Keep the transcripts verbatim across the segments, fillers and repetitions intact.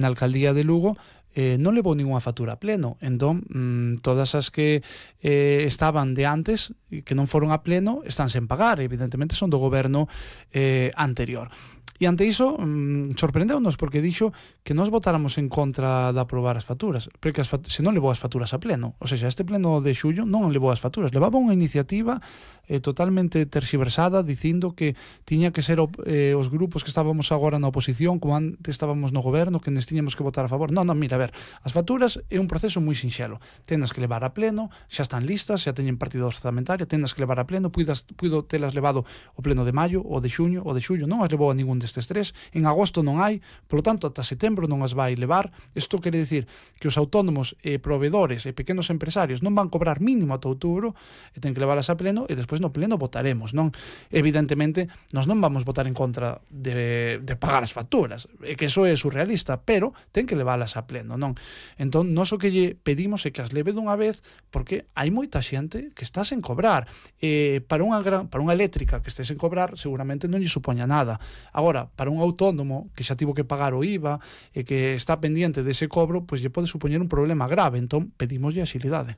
na alcaldía de Lugo eh, non levou ninguna factura a pleno. Entón, mm, todas as que eh, estaban de antes, que non foron a pleno, están sen pagar. Evidentemente son do goberno eh, anterior. E ante iso, mmm, sorprendeu-nos porque dixo que nós votáramos en contra de aprobar as facturas, porque as fat se non levou as facturas a pleno. O sea, este pleno de xullo non levou as facturas, levaba unha iniciativa eh, totalmente terxiversada, dicindo que tiña que ser eh, os grupos que estábamos agora na oposición, como antes estábamos no goberno, que nos tiñamos que votar a favor. Non, non, mira, a ver, as facturas é un proceso moi sinxelo. Tenas que levar a pleno, xa están listas, xa teñen partido orzamentario, tenas que levar a pleno, puidas, puido telas levado o pleno de maio, o de xuño, o de xullo, non as levou a ningún de estes tres, en agosto non hai, polo tanto, ata setembro non as vai levar. Isto quere dicir que os autónomos e proveedores e pequenos empresarios non van cobrar mínimo ata outubro e ten que leválas a pleno e despois no pleno votaremos, non? Evidentemente, nós non vamos votar en contra de, de pagar as facturas, é que eso é surrealista, pero ten que leválas a pleno, non? Entón, nós o que lle pedimos é que as leve dunha vez, porque hai moita xente que está sen cobrar. Eh, para unha gran, para unha eléctrica que este sen cobrar, seguramente non lle supoña nada. Agora, para un autónomo que xa tivo que pagar o I V A e que está pendiente dese cobro, pois lle pode supoñer un problema grave. Entón, pedimoslle axilidade.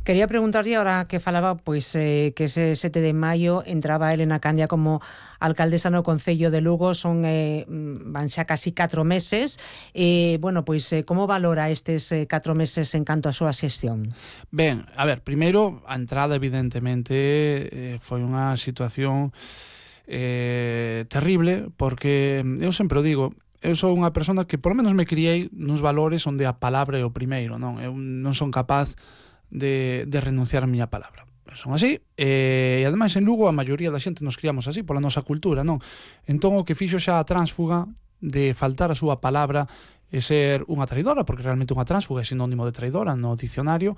Quería preguntarlle, ahora que falaba, pois eh, que ese sete de maio entraba Elena Candia como alcaldesa no Concello de Lugo, son eh, van xa casi catro meses. Eh, bueno, pois eh, como valora estes eh, catro meses en canto a súa xestión? Ben, a ver, primeiro, a entrada evidentemente eh, foi unha situación eh, terrible, porque eu sempre o digo, eu sou unha persona que polo menos me criei nos valores onde a palabra é o primeiro, non? Eu non son capaz de, de renunciar a miña palabra. Son así, e, e ademais en Lugo a maioría da xente nos criamos así pola nosa cultura, non? Entón o que fixo xa a tránsfuga de faltar a súa palabra e ser unha traidora, porque realmente unha tránsfuga é sinónimo de traidora no dicionario,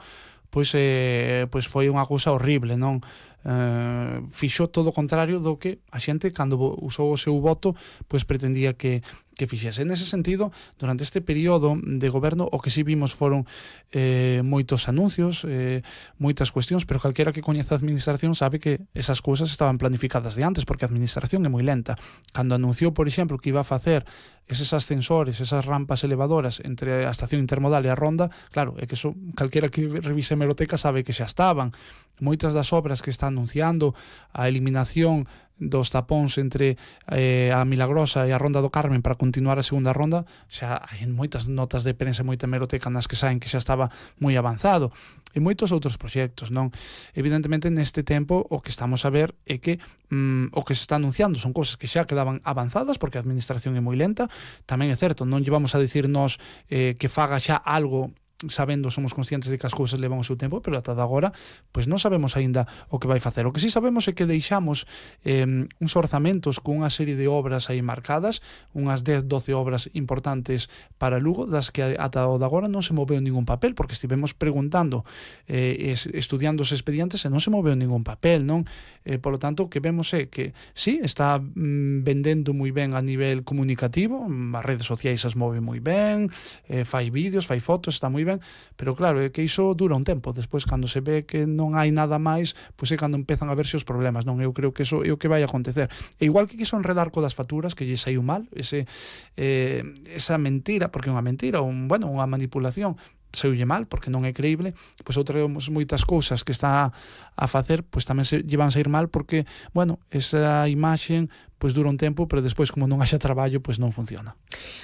pois, eh, pois foi unha cousa horrible, non? Uh, fixo todo o contrario do que a xente cando usou o seu voto pois pretendía que, que fixese. Nese sentido, durante este período de goberno o que si vimos foron eh, moitos anuncios, eh, moitas cuestións, pero calquera que coñeza a administración sabe que esas cousas estaban planificadas de antes, porque a administración é moi lenta. Cando anunciou, por exemplo, que iba a facer eses ascensores, esas rampas elevadoras entre a estación intermodal e a ronda, claro, é que eso calquera que revise a hemeroteca sabe que xa estaban. Moitas das obras que están anunciando, a eliminación dos tapóns entre eh, a Milagrosa e a Ronda do Carmen para continuar a segunda ronda, xa hai moitas notas de prensa, moita hemeroteca nas que saen que xa estaba moi avanzado, e moitos outros proxectos, non? Evidentemente, neste tempo, o que estamos a ver é que mm, o que se está anunciando son cousas que xa quedaban avanzadas, porque a administración é moi lenta. Tamén é certo, non lle vamos a dicir nós eh, que faga xa algo sabendo, somos conscientes de que as cousas levan o seu tempo, pero ata de agora pois non sabemos aínda o que vai facer. O que sí sabemos é que deixamos eh, uns orzamentos con unha serie de obras aí marcadas, unhas dez, doce obras importantes para Lugo, das que ata o de agora non se moveu ningún papel, porque estivemos preguntando, eh, estudiando os expedientes e non se moveu ningún papel, non? Eh, polo tanto, o que vemos é que sí, está mm, vendendo moi ben a nivel comunicativo, as redes sociais as move moi ben, eh, fai vídeos, fai fotos, está moi ben, pero claro, é que iso dura un tempo. Despois, cando se ve que non hai nada máis, pois é cando empezan a verse os problemas, non? Eu creo que iso é o que vai acontecer. E igual que quiso enredar co das facturas, que lle saiu mal, ese, eh, esa mentira, porque é unha mentira, un, bueno, unha manipulación, saiulle mal, porque non é creíble, pois outras moitas cousas que está a facer, pois tamén se llevan a sair mal, porque, bueno, esa imaxe pois dura un tempo, pero despois como non haxa traballo, pois non funciona.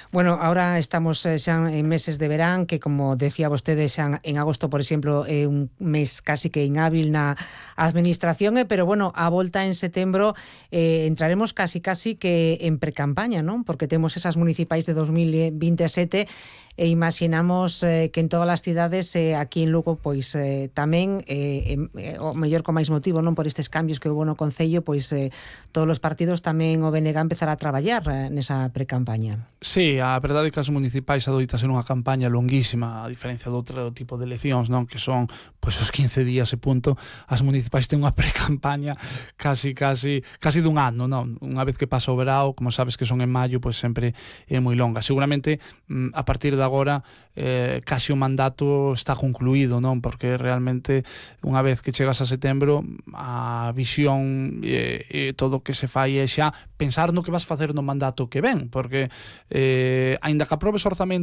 Bueno, ahora estamos xa en meses de verán, que como decía vostede, xa en agosto, por exemplo, é un mes casi que inhábil na administración, pero bueno, a volta en setembro eh, entraremos casi casi que en precampaña, non? Porque temos esas municipais de dos mil veintesete e imaginamos eh, que en todas as cidades eh, aquí en Lugo pois eh, tamén eh, eh, o mellor con máis motivo, non, por estes cambios que houve no Concello, pois eh, todos os partidos tamén o B N G empezar a traballar eh, nesa precampaña. Sí, a verdade é que as municipais adoita ser unha campaña longuísima, a diferencia de outro tipo de eleccións, non, que son pois os quince días e punto. As municipais ten unha precampaña casi casi casi dun ano, non? Unha vez que pasa o verao, como sabes que son en maio, pois sempre é moi longa. Seguramente a partir de agora eh, casi o mandato está concluído, non? Porque realmente unha vez que chegas a setembro a visión e, e todo o que se fai é xa pensar no que vas facer no mandato que ven, porque eh, aínda que aprobes orzamentos